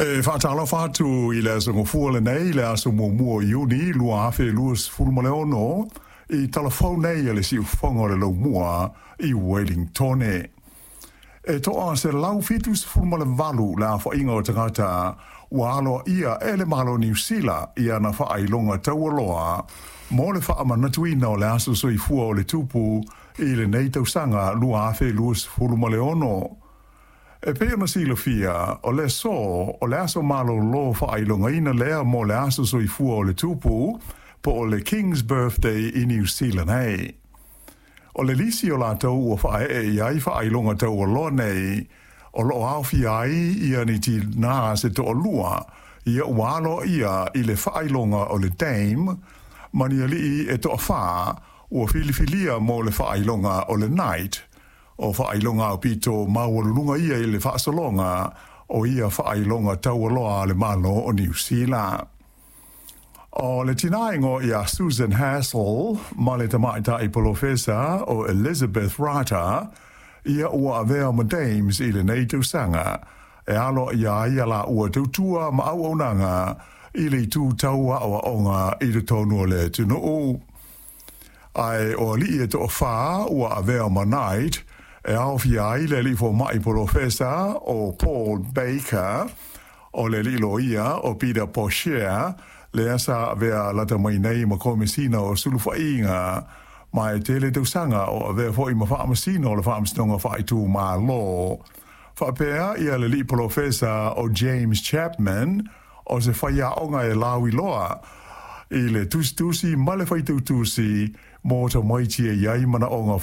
E faatalofa atu i le aso Gafua lenei, le aso 1 o Iuni 2026, i talafou nei a le siufofoga o le Laumua i Wellingtone. E toa 178 le aofaiga o tagata ua aloaia e le Malo o Niu Sila i ana faailoga taualoa mo le faamanatuina o le aso soifua o le tupu i lenei tausaga 2026. E pei ona silafia, o le aso, o le aso malolo faailogaina lea mo le aso soifua o le tupu, po o le King's Birthday i Niu Sila nei. O le lisi o latou ua faaee i ai faailoga taualoa nei, o lo o aofia ai ia ni tinā se toalua, ia ua aloaia i le faailoga o le Dame, ma ni alii e toafā ua filifilia mo le faailoga o le Knight. O faailoga aupito maualuluga ia i le faasologa o ia faailoga taualoa a le Malo o Niu Sila. O le tinā igoa ia Susan Hassell ma le tamaitai polofesa o Elizabeth Rata, ia ua avea ma Dames i lenei tausaga, e aloaia ai a laua tautua ma auaunaga i le itu tau aoaoga i totonu o le atunuu. Ae o alii e toafā ua avea ma Knight, e aofia ai le alii fomai polofesa o Paul Baker, o le alii loia o Peter Boshier, lea sa avea lata mai nei ma Komesina o Sulufaiga, ma e tele tausaga o avea foi ma Faamasino o le Faamasinoga Faaitumalo. Faapea ia le alii polofesa o James Chapman, o se faiaoga e lauiloa i le tusitusi ma le faitautusi mo tamaiti e i ai manaoga.